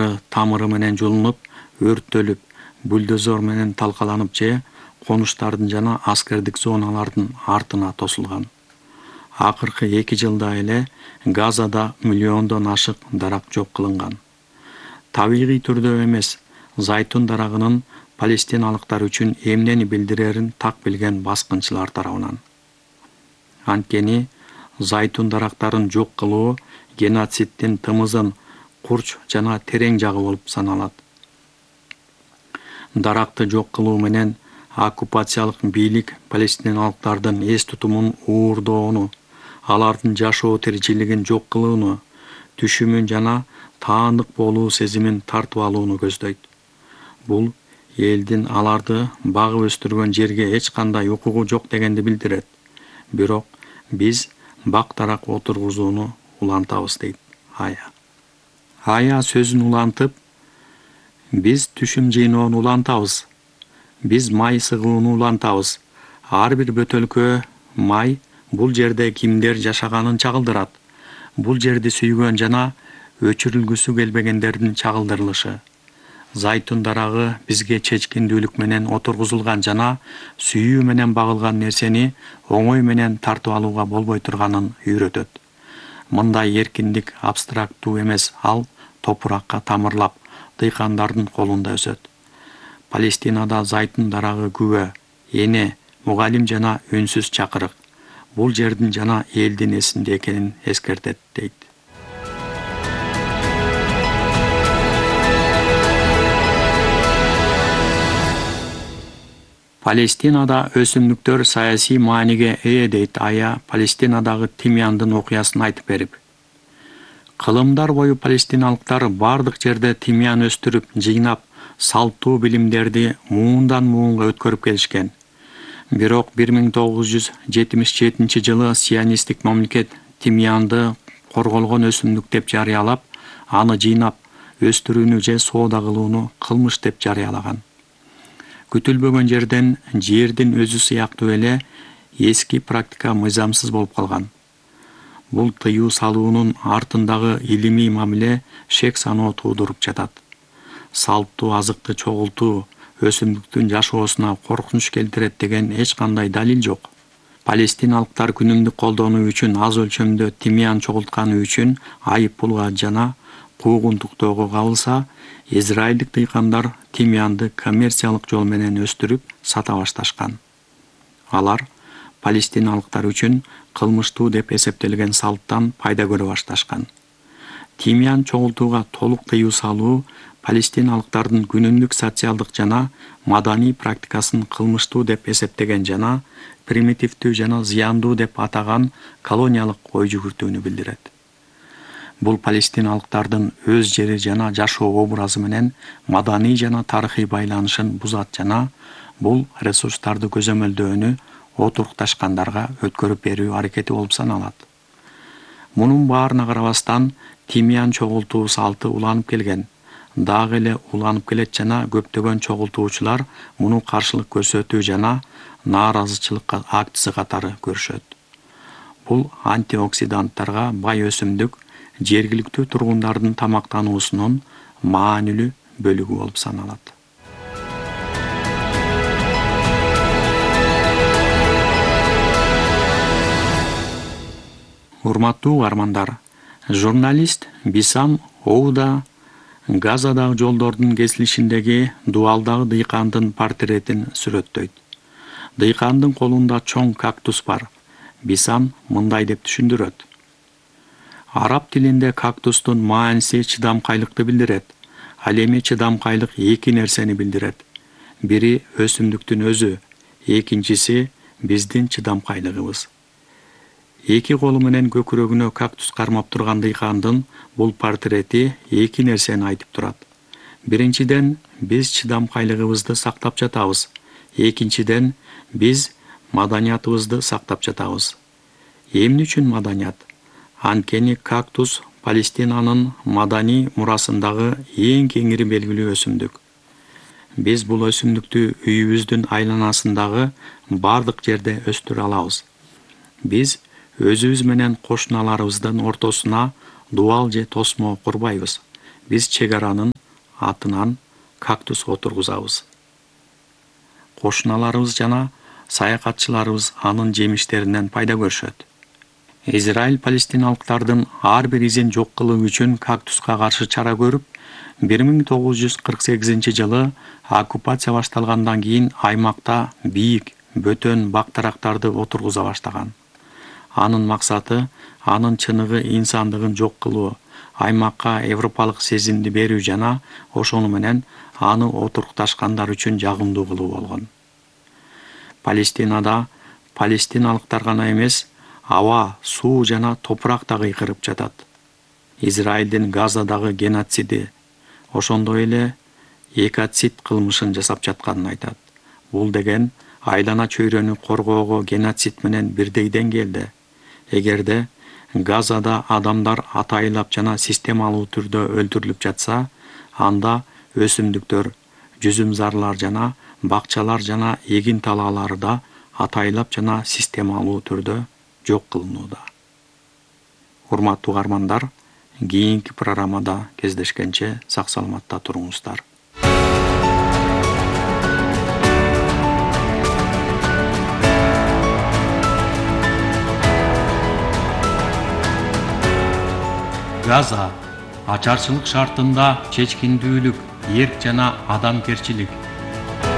жапырактары тамыры менен жулунуп, өрттөлүп, бульдозер менен талкаланып же конуштардын жана аскердик зоналардын артына тосулган. Акыркы 2 жылда эле Газада миллиондон ашык дарак жок кылынган. Табигый түрдө эмес, зайтун дарагынын палестиналыктар үчүн эмнени билдирерин так билген баскынчылар тарабынан. Анткени зайтун дарактарын жок кылуу геноциддин тымызын курч жана терең жагы болуп саналат. Даракты жок кылуу менен оккупациялык бийлик палестиналыктардын эс тутумун уурдоону, алардын жашоо тиричилигин жок кылууну, түшүмүн жана таандык болуу сезимин тартып алууну көздөйт. Бул элдин аларды багып өстүргөн жерге эч кандай укугу жок дегенди билдирет. Бирок биз бак-дарак отургузууну улантабыз дейт Ая. Ая сөзүн улантып, биз түшүм жыйноону улантабыз. Биз май сыгууну улантабыз. Ар бир бөтөлкө май бул жерде кимдер жашаганын чагылдырат. Бул жерди сүйгөн жана өчүрүлгүсү келбегендердин чагылдырылышы. Зайтун дарагы бизге чечкиндүүлүк менен отургузулган жана сүйүү менен багылган нерсени оңой менен тартып алууга болбой турганын үйрөтөт. Мындай эркиндик абстрактуу эмес, ал топуракка тамырлап, дыйкандардын колунда өсөт. Палестинада зайтун дарагы күбө, эне, мугалим жана үнсүз чакырык. Бул жердин жана элдин эсинде экенин эскертет дейт. Палестинада өсүмдүктөр саясий мааниге ээ дейт Ая Палестинадагы тимяндын окуясын айтып берип. Кылымдар бою палестиналыктар бардык жерде тимян өстүрүп, жыйнап, салттуу билимдерди муундан муунга өткөрүп келишкен. Бирок 1977 жылы сионисттик мамлекет тимянды корголгон өсүмдүк деп жарыялап, аны жыйнап, өстүрүүнү же соода кылууну кылмыш деп жарыялаган. Күтүлбөгөн жерден жердин өзү сыяктуу эле эски практика мыйзамсыз болуп калган. Бул тыюу салуунун артындагы илимий мамиле шек саноо туудуруп жатат. Салттуу азыкты чогултуу өсүмдүктүн жашоосуна коркунуч келтирет деген эч кандай далил жок. Палестиналыктар күнүмдүк колдонуу үчүн аз өлчөмдө тимян чогултканы үчүн айып пулга жана куугунтуктоого кабылса, израилдик дыйкандар тимянды коммерциялык жол менен өстүрүп сата башташкан. Алар палестиналыктар үчүн кылмыштуу деп эсептелген салттан пайда көрө башташкан. Тимян чогултууга толук тыюу салуу палестиналыктардын күнүмдүк социалдык жана маданий практикасын кылмыштуу деп эсептеген жана примитивдүү жана зыяндуу деп атаган колониялык ой жүгүртүүнү билдирет. Бул палестиналыктардын өз жери жана жашоо образы менен маданий жана тарыхый байланышын бузат жана бул ресурстарды көзөмөлдөөнү отурукташкандарга өткөрүп берүү аракети болуп саналат. Мунун баарына карабастан тимян чогултуу салты уланып келген. Дагы эле уланып келет жана көптөгөн чогултуучулар муну каршылык көрсөтүү жана нааразычылык акциясы катары көрүшөт. Бул антиоксиданттарга бай өсүмдүк жергиликтүү тургундардын тамактануусунун маанилүү бөлүгү болуп саналат. Урматтуу угармандар, журналист Бисам Оуда Газадагы жолдордун кесилишиндеги дубалдагы дыйкандын портретин сүрөттөйт. Дыйкандын колунда чоң кактус бар. Бисам мындай деп түшүндүрөт. Араб тилинде кактустун мааниси чыдамкайлыкты билдирет. Ал эми чыдамкайлык эки нерсени билдирет. Бири өсүмдүктүн өзү, экинчиси биздин чыдамкайлыгыбыз. Эки колу менен көкүрөгүнө кактус кармап турган дыйкандын бул портрети эки нерсени айтып турат. Биринчиден, биз чыдамкайлыгыбызды сактап жатабыз. Экинчиден, биз маданиятыбызды сактап жатабыз. Эмне үчүн маданият? Анткени кактус Палестинанын маданий мурасындагы эң кеңири белгилүү өсүмдүк. Биз бул өсүмдүктү үйүбүздүн айланасындагы бардык жерде өстүрө алабыз. Биз өзүбүз менен кошуналарыбыздын ортосуна дубал же тосмо курбайбыз. Биз чек аранын атынан кактус отургузабыз. Кошуналарыбыз жана саякатчыларыбыз анын жемиштеринен пайда көрүшөт. Израиль палестиналыктардын ар бир изин жок кылуу үчүн кактуска каршы чара көрүп, 1948-жылы оккупация башталгандан кийин аймакта бийик, бөтөн бактарактарды отургуза баштаган. Анын максаты анын чыныгы инсандыгын жок кылуу, аймакка европалык сезимди берүү жана ошону менен аны отурукташкандар үчүн жагымдуу кылуу болгон. Палестинада палестиналыктар гана эмес, аба, суу жана топурак да кыйкырып жатат. Израилдин Газадагы геноциди, ошондой эле экоцид кылмышын жасап жатканын айтат. Бул деген айлана чөйрөнү коргоого геноцид менен бирдей деңгээлде. Эгерде Газада адамдар атайылап жана системалуу түрдө өлтүрүлүп жатса, анда өсүмдүктөр, жүзүмзарлар жана бакчалар жана эгин талаалары да атайылап жана системалуу түрдө жок кылынууда. Урматтуу угармандар, кийинки программада кездешкенче сак саламатта туруңуздар. Газа ачарчылык шартында чечкиндүүлүк, эрк жана адамгерчилик